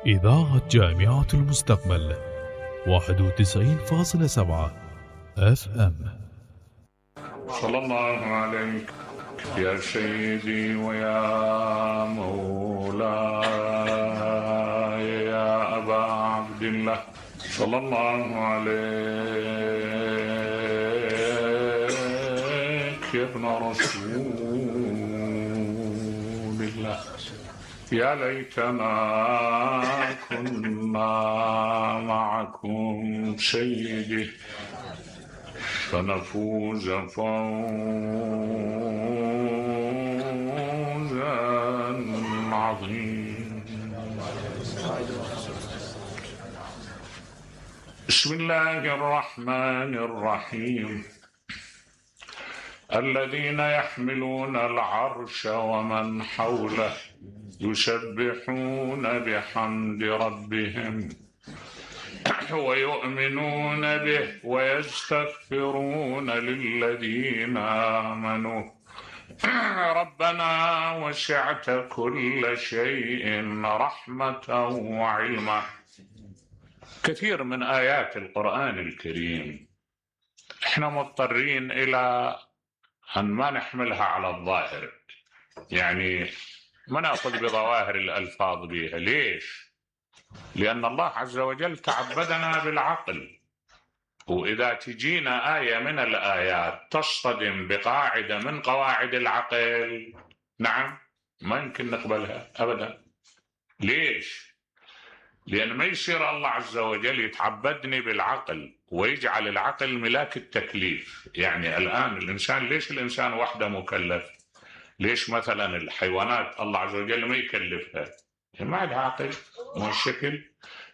إذاعة جامعة المستقبل 91.7 FM. صلى الله عليك يا سيدي ويا مولاي يا أبا عبد الله، صلى الله عليك يا ابن رسول الله. يا ليتنا كنا معكم سيدي فنفوز فوزا عظيما. بسم الله الرحمن الرحيم. الذين يحملون العرش ومن حوله يسبحون بحمد ربهم ويؤمنون به ويستغفرون للذين آمنوا ربنا وسعت كل شيء رحمة وعلما. كثير من آيات القرآن الكريم احنا مضطرين إلى أن ما نحملها على الظاهر، يعني ما نأخذ بظواهر الألفاظ بها. ليش؟ لأن الله عز وجل تعبدنا بالعقل، وإذا تجينا آية من الآيات تصطدم بقاعدة من قواعد العقل، نعم، ما يمكن نقبلها أبدا. ليش؟ لأن ما يصير الله عز وجل يتعبدني بالعقل ويجعل العقل ملاك التكليف. يعني الآن الإنسان، ليش الإنسان وحده مكلف؟ ليش مثلا الحيوانات الله عز وجل ما يكلفها؟ ما عندها عقل، مو الشكل.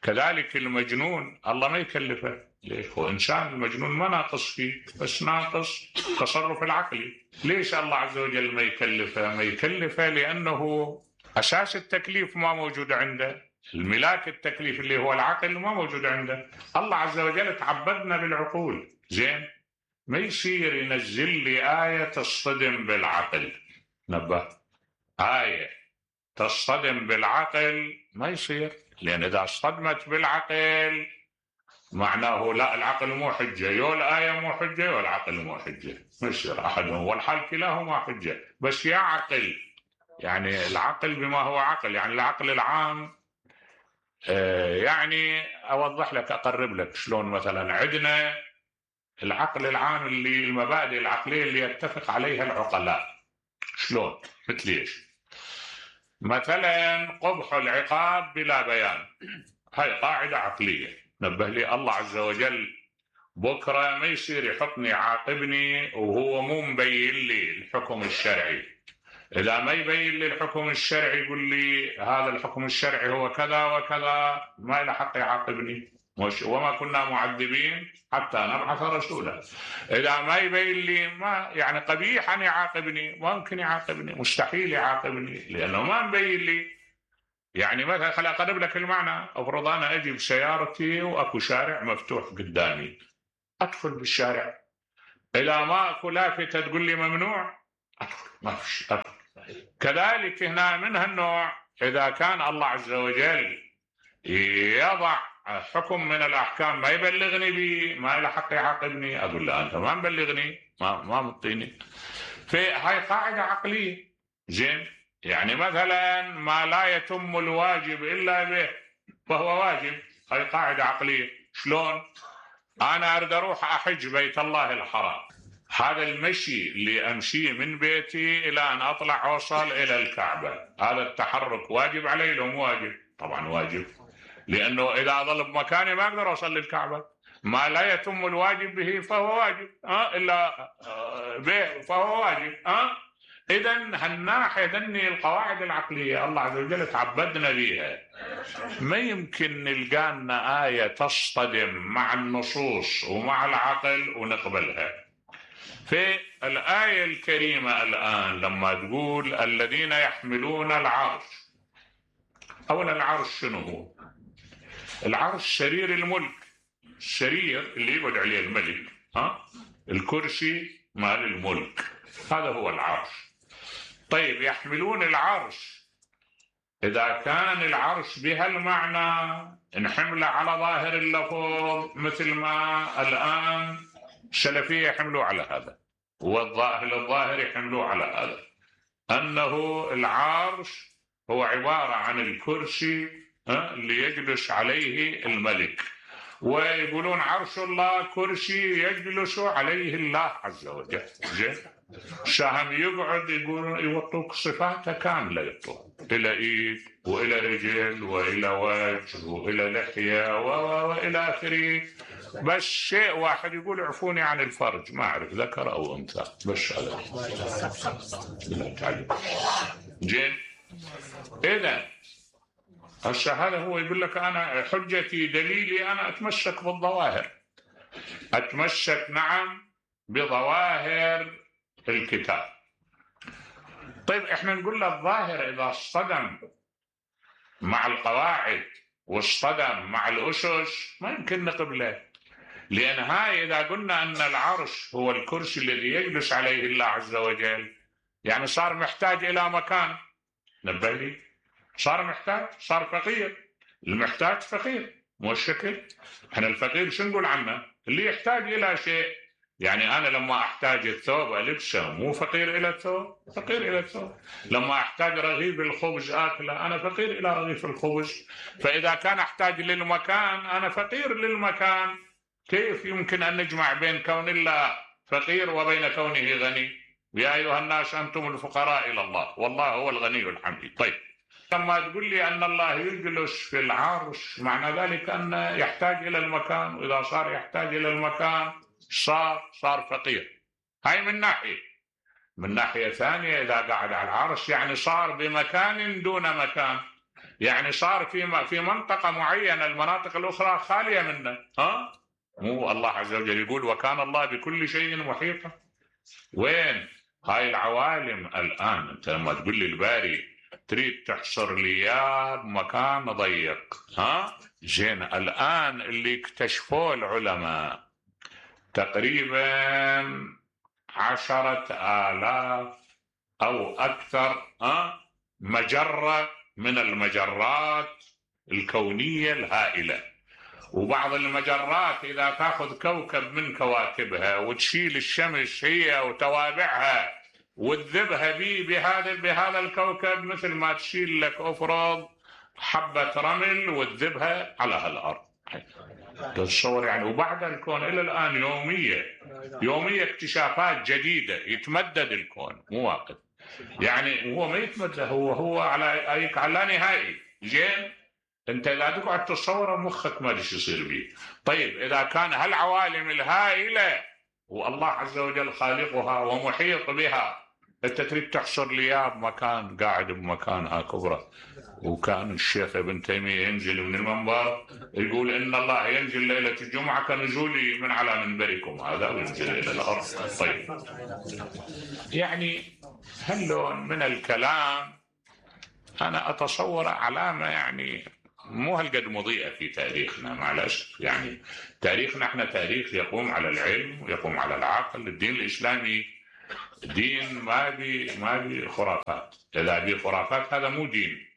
كذلك المجنون الله ما يكلفه. ليش؟ هو إنسان، المجنون ما ناقص فيه، بس ناقص تصرف العقلي. ليش الله عز وجل ما يكلفه؟ ما يكلفه لأنه أساس التكليف ما موجود عنده، الملاك التكليف اللي هو العقل ما موجود عنده. الله عز وجل تعبدنا بالعقول، زين؟ ما يصير ينزل لي آية تصطدم بالعقل. نبه، آية تصطدم بالعقل ما يصير، لأن إذا اصطدمت بالعقل معناه لا، العقل مو حجة، يو الآية مو حجة يو العقل مو حجة، ما يصير أحدهم، والحال كلاهما حجة. بس يا عقل، يعني العقل بما هو عقل، يعني العقل العام. يعني أوضح لك، أقرب لك شلون. مثلا عندنا العقل العام اللي المبادئ العقلية اللي يتفق عليها العقلاء. شلون؟ مثل ايش؟ مثلا قبح العقاب بلا بيان، هاي قاعدة عقلية. نبه لي الله عز وجل بكرة ما يصير يحطني يعاقبني وهو مو مبين لي الحكم الشرعي. إذا ما يبين لي الحكم الشرعي يقول لي هذا الحكم الشرعي هو كذا وكذا، ما له حق يعاقبني. وما كنا معذبين حتى نبعث رسولا. إذا ما يبين لي، ما يعني قبيح أن يعاقبني، ما ممكن يعاقبني، مستحيل يعاقبني لأنه ما مبين لي. يعني مثلا خل أقرب لك المعنى. أفرض أنا أجي بسيارتي وأكو شارع مفتوح قدامي، أدخل بالشارع، إذا ما أكو لافتة تقول لي ممنوع، أدخل، ما فيش، أدخل. كذلك هنا من هالنوع، إذا كان الله عز وجل يضع حكم من الأحكام ما يبلغني به، ما له حق يعاقبني، أقول له أنت ما مبلغني، ما مطيني. هاي قاعدة عقلية، زين؟ يعني مثلا ما لا يتم الواجب إلا به فهو واجب، هاي قاعدة عقلية. شلون؟ أنا أريد أروح أحج بيت الله الحرام، هذا المشي اللي أمشي من بيتي إلى أن أطلع أوصل إلى الكعبة، هذا التحرك واجب علي لو مو واجب؟ طبعا واجب، لأنه إذا أظل بمكاني ما أقدر أوصل للكعبة. ما لا يتم الواجب به فهو واجب، إلا به فهو واجب. إذن هالناحية ذني القواعد العقلية الله عز وجل تعبدنا بها. ما يمكن نلقانا آية تصطدم مع النصوص ومع العقل ونقبلها. في الآية الكريمة الآن لما تقول الذين يحملون العرش، أولا العرش شنو هو؟ العرش سرير الملك، السرير اللي يقعد عليه الملك، الكرسي مال الملك، هذا هو العرش. طيب يحملون العرش، إذا كان العرش بهالمعنى نحمله على ظاهر اللفظ مثل ما الآن السلفية يحملوا على هذا، والظاهر يحملوا على هذا، أنه العرش هو عبارة عن الكرسي اللي يجلس عليه الملك، ويقولون عرش الله كرسي يجلس عليه الله عز وجل. زين، شاهم يقعد يقولون يوطوك صفاته كاملة، يعطوك إلى إيد وإلى رجل وإلى وجه وإلى لحية وإلى آخره، بس شيء واحد يقول اعفوني عن الفرج، ما أعرف ذكر أو أنثى، بس هذا. زين، إذا هسه هذا هو يقول لك أنا حجتي دليلي أنا أتمسك بالظواهر، أتمسك نعم بظواهر الكتاب. طيب احنا نقول له الظاهر إذا اصطدم مع القواعد واصطدم مع الأسس ما يمكن نقبله، لأن هاي إذا قلنا أن العرش هو الكرسي الذي يجلس عليه الله عز وجل، يعني صار محتاج إلى مكان. نبه لي، صار محتاج، صار فقير. المحتاج فقير، مو الشكل. احنا الفقير شو نقول عنه؟ اللي يحتاج إلى شيء. يعني أنا لما أحتاج الثوب ألبسه مو فقير إلى الثوب، فقير إلى الثوب. لما أحتاج رغيف الخبز آكله أنا فقير إلى رغيف الخبز. فإذا كان أحتاج للمكان أنا فقير للمكان. كيف يمكن أن نجمع بين كون الله فقير وبين كونه غني؟ يا أيها الناس أنتم الفقراء إلى الله والله هو الغني الحميد. طيب لما تقول لي أن الله يجلس في العرش معنى ذلك أنه يحتاج إلى المكان، وإذا صار يحتاج إلى المكان صار فقير. هاي من ناحية. من ناحية ثانية إذا قعد على العرش يعني صار بمكان دون مكان، يعني صار في منطقة معينة، المناطق الأخرى خالية منه. مو الله عز وجل يقول وكان الله بكل شيء محيطا. وين هاي العوالم الآن؟ أنت لما تقول لي الباري تريد تحصر لي إياه بمكان ضيق. زين، الآن اللي اكتشفوه العلماء تقريبا 10,000 أو أكثر مجرة من المجرات الكونية الهائلة. وبعض المجرات إذا تأخذ كوكب من كواكبها وتشيل الشمس هي وتوابعها وتذبها بهذا الكوكب مثل ما تشيل لك أفرض حبة رمل وتذبها على هالأرض. تصور يعني. وبعد الكون إلى الآن يومية اكتشافات جديدة، يتمدد الكون مو واقف. يعني هو ما يتمدد، هو على لا نهائي. زين، انت لا تقعد تصور مخك ما ايش يصير به. طيب اذا كان هالعوالم الهائله والله عز وجل خالقها ومحيط بها، انت تريد تحصر لي بمكان قاعد بمكان كبره. وكان الشيخ ابن تيميه ينزل من المنبر يقول ان الله ينزل ليله الجمعه كنزولي من على منبركم هذا وينزل الى الارض. طيب يعني هاللون من الكلام انا اتصور علامه يعني مو هالقد مضيئة في تاريخنا مع الأسف. يعني تاريخنا احنا تاريخ يقوم على العلم ويقوم على العقل. الدين الإسلامي دين ما بي خرافات. إذا بي خرافات هذا مو دين.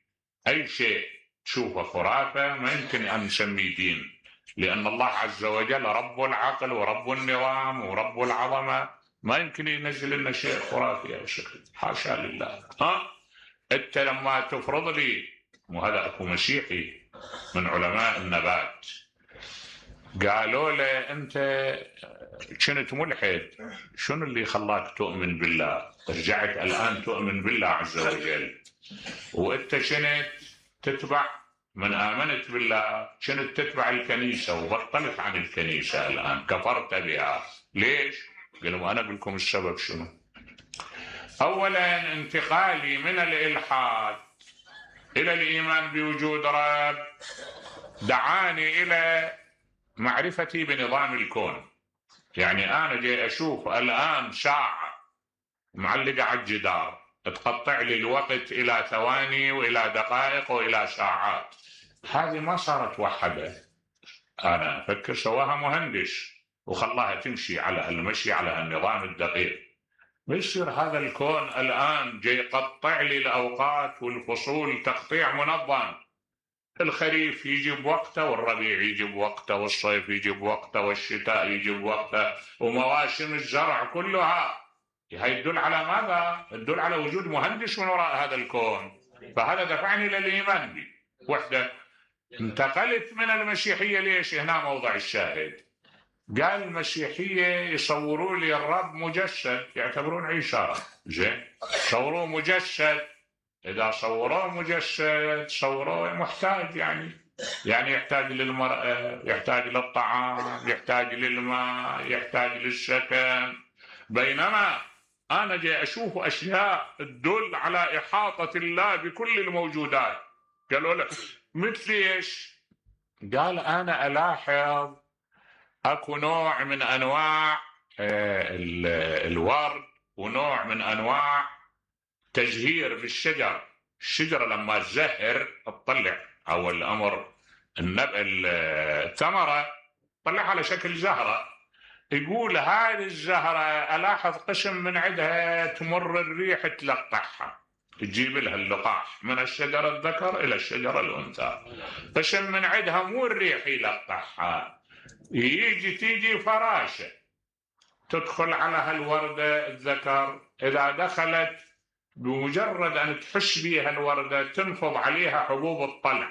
أي شيء تشوفه خرافة ما يمكن أن نسميه دين، لأن الله عز وجل رب العقل ورب النظام ورب العظمة، ما يمكن ينزل لنا شيء خرافي أو شكل، حاشا لله. أنت لما تفرض لي، وهذا أكو مسيحي من علماء النبات قالوا له أنت كنت ملحد، شنو اللي خلاك تؤمن بالله؟ رجعت الآن تؤمن بالله عز وجل، وأنت كنت تتبع من آمنت بالله كنت تتبع الكنيسة وبطلت عن الكنيسة الآن كفرت بها، ليش؟ قالوا أنا أقول لكم السبب شنو. أولا انتقالي من الإلحاد إلى الإيمان بوجود رب دعاني إلى معرفتي بنظام الكون. يعني أنا جاي أشوف الآن ساعة معلقة على الجدار تقطع لي الوقت إلى ثواني وإلى دقائق وإلى ساعات. هذه ما صارت وحدة، أنا أفكر سواها مهندس وخلاها تمشي على المشي على النظام الدقيق. ما يصير هذا الكون الآن جاي يقطع لي الأوقات والفصول تقطيع منظم. الخريف يجي بوقته، والربيع يجي بوقته، والصيف يجي بوقته، والشتاء يجي بوقته، ومواسم الزرع كلها. هي تدل على ماذا؟ تدل على وجود مهندس من وراء هذا الكون. فهذا دفعني للإيمان به. وحده. انتقلت من المسيحية ليش؟ هنا موضع الشاهد. قال المسيحية يصوروا لي الرب مجسد، يعتبرون عيسى. زين، صوروه مجسد. إذا صوروه مجسد صوروه محتاج، يعني يحتاج للمرأة، يحتاج للطعام، يحتاج للماء، يحتاج للسكن. بينما أنا جاي أشوف أشياء تدل على إحاطة الله بكل الموجودات. قالوا له مثل إيش؟ قال أنا ألاحظ أكو نوع من أنواع الورد، ونوع من أنواع تزهير بالشجر. الشجرة لما تزهر تطلع أول أمر الثمرة تطلع على شكل زهرة. يقول هذه الزهرة ألاحظ قسم من عندها تمر الريح تلقحها، تجيب لها اللقاح من الشجرة الذكر إلى الشجرة الأنثى. قسم من عندها مو الريح يلقحها، تيجي فراشة تدخل على هالوردة الذكر. إذا دخلت بمجرد أن تحس بها الوردة تنفض عليها حبوب الطلع.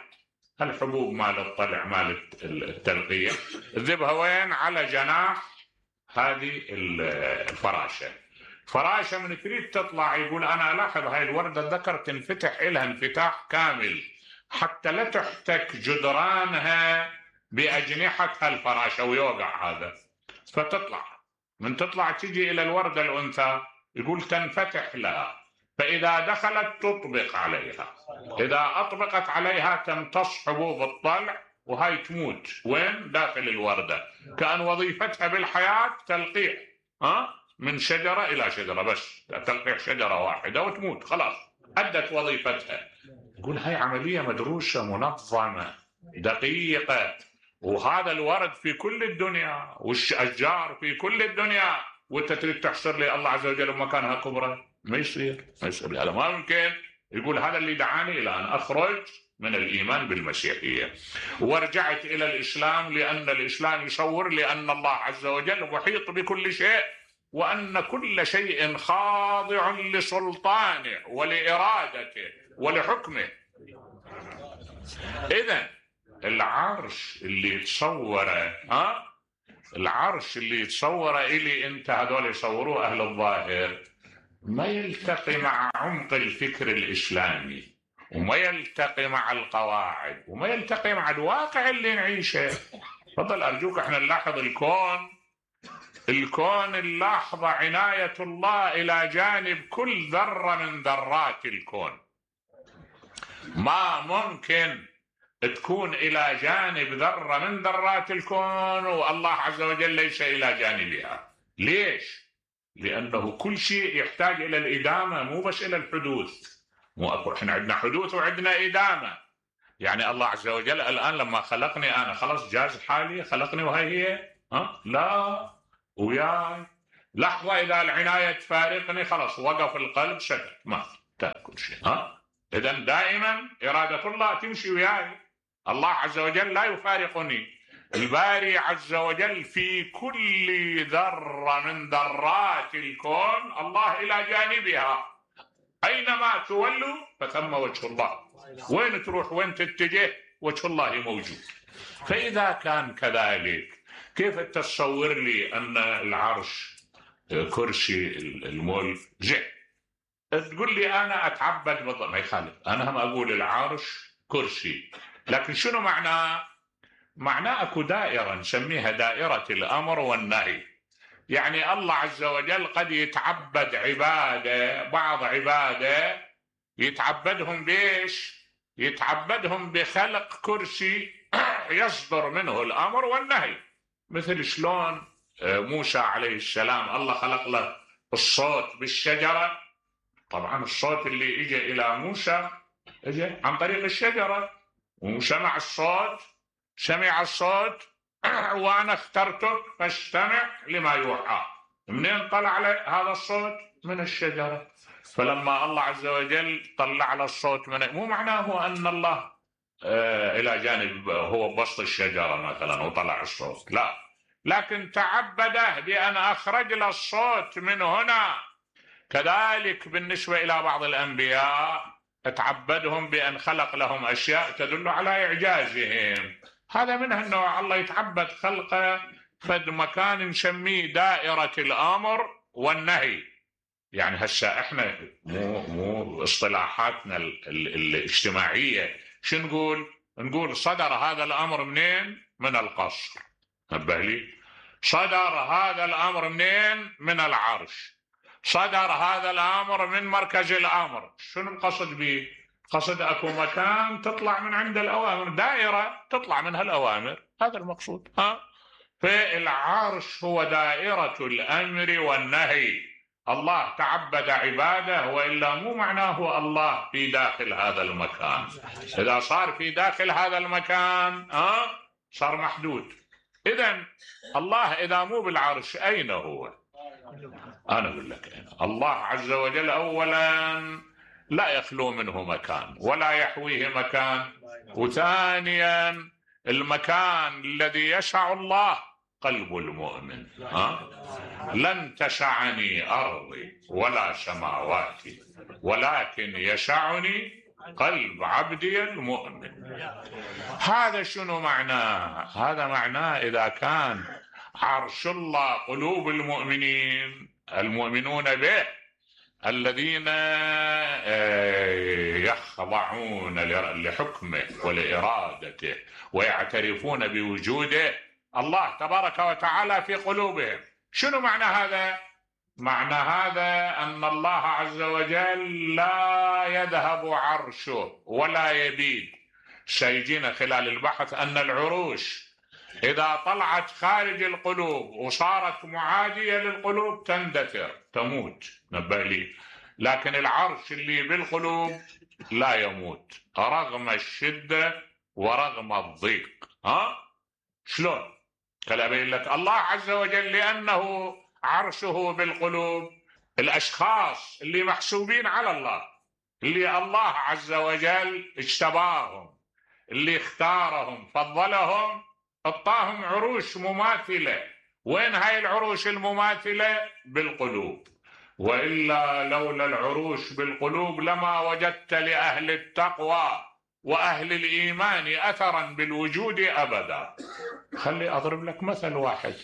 الحبوب مال الطلع مال التلقية تذبها وين؟ على جناح هذه الفراشة. فراشة من تريد تطلع يقول أنا ألاحظ هاي الوردة الذكر تنفتح إلها انفتاح كامل حتى لا تحتك جدرانها بأجنحة الفراشة ويوقع هذا، فتطلع. من تطلع تجي إلى الوردة الأنثى يقول تنفتح لها، فإذا دخلت تطبق عليها. إذا أطبقت عليها تمتص حبوب الطلع وهاي تموت وين؟ داخل الوردة. كأن وظيفتها بالحياة تلقيح من شجرة إلى شجرة، بس تلقيح شجرة واحدة وتموت، خلاص أدت وظيفتها. يقول هاي عملية مدروسة منظمة دقيقة. وهذا الورد في كل الدنيا، والأشجار في كل الدنيا، وانت تريد تحصر لي الله عز وجل مكانها كبرى؟ ما يصير هذا ما ممكن. يقول هذا اللي دعاني إلى أن أخرج من الإيمان بالمسيحية ورجعت إلى الإسلام، لأن الإسلام يصور لأن الله عز وجل محيط بكل شيء، وأن كل شيء خاضع لسلطانه ولإرادته ولحكمه. إذن العرش اللي يتصوره العرش اللي يتصوره إلي أنت، هذول يصوروه أهل الظاهر، ما يلتقي مع عمق الفكر الإسلامي، وما يلتقي مع القواعد، وما يلتقي مع الواقع اللي نعيشه. تفضل أرجوك احنا نلاحظ الكون نلاحظ عناية الله إلى جانب كل ذرة من ذرات الكون. ما ممكن تكون إلى جانب ذرة من ذرات الكون والله عز وجل ليس إلى جانبها. ليش؟ لأنه كل شيء يحتاج إلى الإدامة، مو بس إلى الحدوث. مو أكو إحنا عندنا حدوث وعندنا إدامة. يعني الله عز وجل الآن لما خلقني أنا خلاص جاز حالي، خلقني وهي هي لا، وياي لحظة إذا العناية تفارقني خلاص وقف القلب، سكت، ما تأكل شيء. إذن دائما إرادة الله تمشي وياي. الله عز وجل لا يفارقني. الباري عز وجل في كل ذرة من ذرات الكون الله إلى جانبها. أينما تولوا فثم وجه الله. وين تروح وين تتجه وجه الله موجود. فإذا كان كذلك كيف تصور لي أن العرش كرسي الملك زين؟ تقول لي أنا أتعبد بالضبط، ما يخالف، أنا هم أقول العرش كرسي، لكن شنو معناه؟ معناه أكو دائرة نسميها دائرة الأمر والنهي. يعني الله عز وجل قد يتعبد عبادة، بعض عبادة يتعبدهم بيش؟ يتعبدهم بخلق كرسي يصدر منه الأمر والنهي. مثل شلون موسى عليه السلام الله خلق له الصوت بالشجرة. طبعا الصوت اللي اجى إلى موسى اجى عن طريق الشجرة، وسمع الصوت، سمع الصوت وأنا اخترتك فاستمع لما يوحى. منين طلع هذا الصوت؟ من الشجرة. فلما الله عز وجل طلع على الصوت مو معناه أن الله إلى جانب هو بسط الشجرة مثلا وطلع الصوت، لا، لكن تعبده بأن أخرج له الصوت من هنا. كذلك بالنسبة إلى بعض الأنبياء تعبدهم بأن خلق لهم أشياء تدل على إعجازهم. هذا منها أنه الله يتعبد خلقه فد مكان نسميه دائرة الأمر والنهي. يعني هسه احنا مو اصطلاحاتنا الاجتماعية شو نقول صدر هذا الأمر منين؟ من القصر. نبه لي، صدر هذا الأمر منين؟ من العرش. صدر هذا الأمر من مركز الأمر. شنو القصد به؟ قصد أكو مكان تطلع من عند الأوامر، دائرة تطلع منها الأوامر، هذا المقصود. فالعرش هو دائرة الأمر والنهي. الله تعبد عباده، وإلا مو معناه الله في داخل هذا المكان. إذا صار في داخل هذا المكان صار محدود. إذن الله إذا مو بالعرش أين هو؟ أنا أقول لك الله عز وجل أولا لا يخلو منه مكان ولا يحويه مكان، وثانيا المكان الذي يسع الله قلب المؤمن. لن تسعني أرضي ولا سماواتي ولكن يسعني قلب عبدي المؤمن. هذا شنو معناه؟ هذا معناه إذا كان عرش الله قلوب المؤمنون به الذين يخضعون لحكمه ولإرادته ويعترفون بوجوده الله تبارك وتعالى في قلوبهم. شنو معنى هذا؟ معنى هذا أن الله عز وجل لا يذهب عرشه ولا يبيد. سيجينا خلال البحث أن العروش إذا طلعت خارج القلوب وصارت معادية للقلوب تندثر تموت. نبه لي، لكن العرش اللي بالقلوب لا يموت رغم الشدة ورغم الضيق. شلون؟ خلي أبين لك. الله عز وجل لأنه عرشه بالقلوب، الأشخاص اللي محسوبين على الله، اللي الله عز وجل اجتباهم، اللي اختارهم فضلهم، اعطاهم عروش مماثلة. وين هاي العروش المماثلة؟ بالقلوب. وإلا لولا العروش بالقلوب لما وجدت لأهل التقوى وأهل الإيمان أثرا بالوجود أبدا. خلي أضرب لك مثل واحد.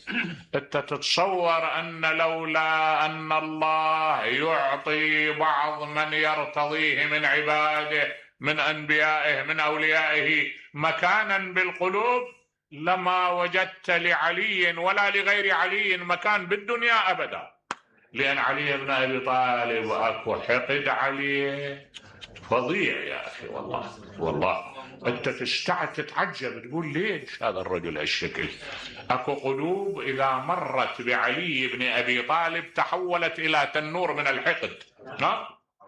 أنت تتصور أن لولا أن الله يعطي بعض من يرتضيه من عباده من أنبيائه من أوليائه مكانا بالقلوب لما وجدت لعلي ولا لغير علي مكان بالدنيا أبدا. لأن علي بن أبي طالب أكو حقد عليه فظيع يا أخي. والله أنت تتعجب تقول ليش هذا الرجل هالشكل. أكو قلوب إذا مرت بعلي بن أبي طالب تحولت إلى تنور من الحقد.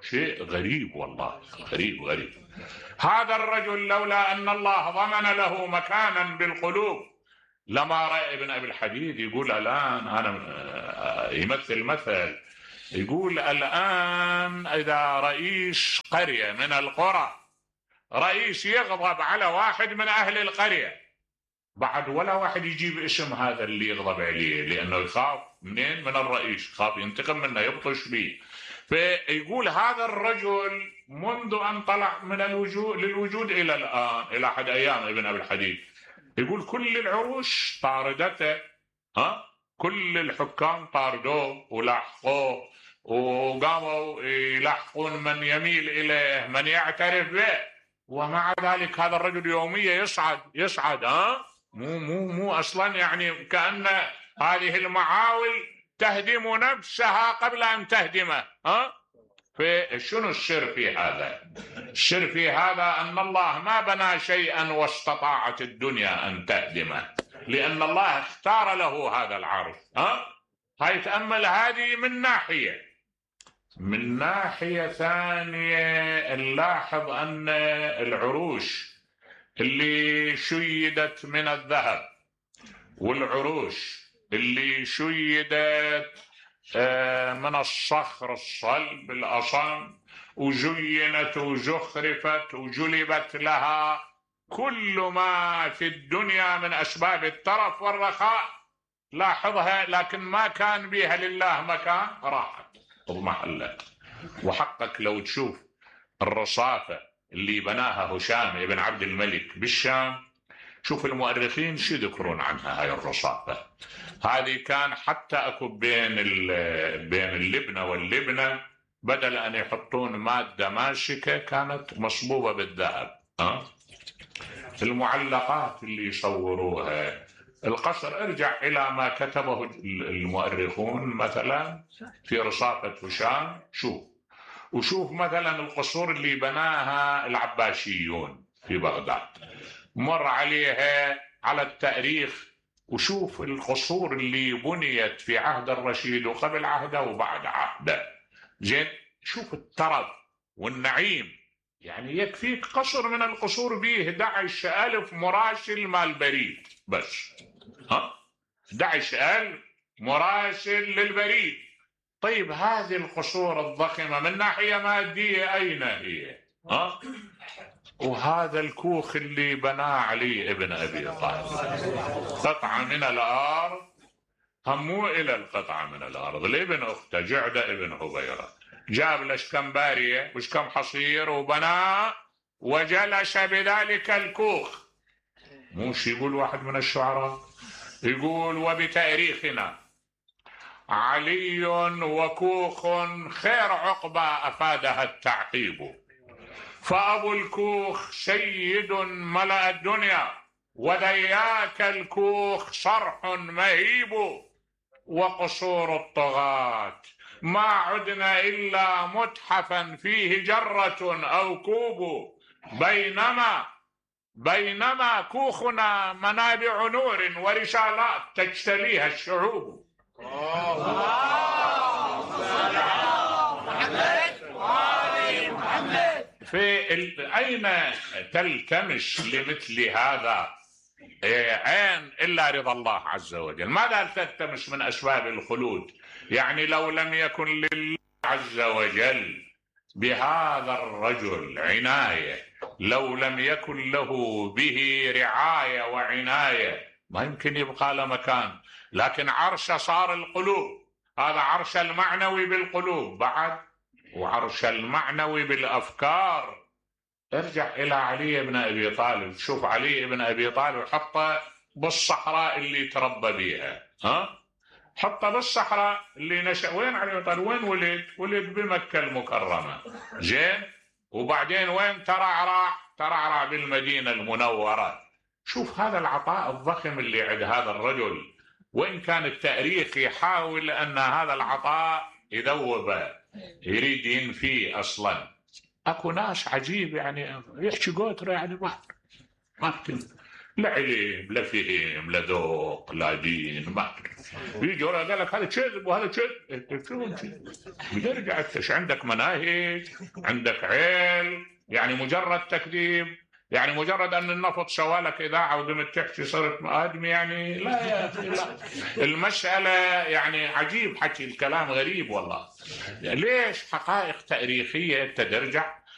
شيء غريب والله، غريب. هذا الرجل لولا أن الله ضمن له مكانا بالقلوب لما رأى ابن أبي الحديد يقول الآن أنا يمثل مثل، يقول الآن إذا رئيس قرية من القرى رئيس يغضب على واحد من أهل القرية، بعد ولا واحد يجيب اسم هذا اللي يغضب عليه لأنه يخاف منين؟ من الرئيس، يخاف ينتقم منه يبطش به. فيقول هذا الرجل منذ أن طلع من للوجود إلى الآن إلى حد أيام ابن أبي الحديد يقول كل العروش طاردته. كل الحكام طاردوه ولاحقوه وقاموا يلاحقون من يميل إليه من يعترف به، ومع ذلك هذا الرجل يوميا يصعد. مو أصلا يعني كأن هذه المعاول تهدم نفسها قبل أن تهدمه. فشنو السر في هذا؟ السر في هذا أن الله ما بنى شيئا واستطاعت الدنيا أن تهدمه، لأن الله اختار له هذا العرش. هاي تأمل هذه من ناحية. من ناحية ثانية نلاحظ أن العروش اللي شيدت من الذهب والعروش اللي شيدت من الصخر الصلب الأصم، وزينت وزخرفت وجلبت لها كل ما في الدنيا من أسباب الترف والرخاء، لاحظها، لكن ما كان بها لله مكان، راحت اضمحلت. وحقك لو تشوف الرصافة اللي بناها هشام بن عبد الملك بالشام، شوف المؤرخين شو يذكرون عنها هاي الرصافة. هذه كان حتى اكو بين اللبنة واللبنة بدل ان يحطون مادة ماسكة كانت مصبوبة بالذهب. المعلقات اللي يصوروها، القصر، ارجع الى ما كتبه المؤرخون مثلا في رصافة هشام، وشوف مثلا القصور اللي بناها العباسيون في بغداد، مر عليها على التاريخ، وشوف القصور اللي بنيت في عهد الرشيد وقبل عهده وبعد عهده. زين، شوف الترف والنعيم، يعني يكفيك قصر من القصور به 11,000 مراسل مال بريد بس. 11,000 مراسل للبريد. طيب هذه القصور الضخمة من ناحية مادية أين هي؟ وهذا الكوخ اللي بناه علي ابن أبي طالب، قطعة من الأرض، همو إلى القطعة من الأرض لابن أخته جعدة ابن هبيرة، جاب لش كم بارية وش كم حصير وبناه وجلس بذلك الكوخ. موش يقول واحد من الشعراء، يقول وبتاريخنا علي وكوخ خير عقبى أفادها التعقيب، فأبو الكوخ سيد ملأ الدنيا وذياك الكوخ صرح مهيب، وقصور الطغاة ما عدنا إلا متحفا فيه جرة أو كوب، بينما كوخنا منابع نور ورسالات تجتليها الشعوب. أين تلتمس لمثل هذا عين إلا رضا الله عز وجل؟ ماذا تلتمس من أسباب الخلود؟ يعني لو لم يكن لله عز وجل بهذا الرجل عناية، لو لم يكن له به رعاية وعناية، ما يمكن يبقى له مكان. لكن عرش صار القلوب، هذا عرش المعنوي بالقلوب بعد، وعرش المعنوي بالأفكار. ارجع إلى علي بن أبي طالب، شوف علي بن أبي طالب حطه بالصحراء اللي تربى بيها، حطه بالصحراء اللي نشأ. وين علي بن طالب؟ وين ولد بمكة المكرمة. زين، وبعدين وين ترعرع بالمدينة المنورة. شوف هذا العطاء الضخم اللي عند هذا الرجل، وإن كان التاريخ يحاول أن هذا العطاء يذوبه، يريد ينفيه أصلا. أكو ناس عجيب يعني يحكي قوتره، يعني ما لا علم لا فهم لا ذوق لا دين، ما يجي ورا قال لك هذا كذب وهذا كذب. شو بترجع ايش عندك؟ مناهج، عندك علم؟ يعني مجرد تكذيب، يعني مجرد ان النفط سوالك اذاعه وقمت تحكي صرت ادمي؟ يعني لا يا اخي، لا. المساله يعني عجيب، حكي الكلام غريب والله. ليش؟ حقائق تاريخيه ترجع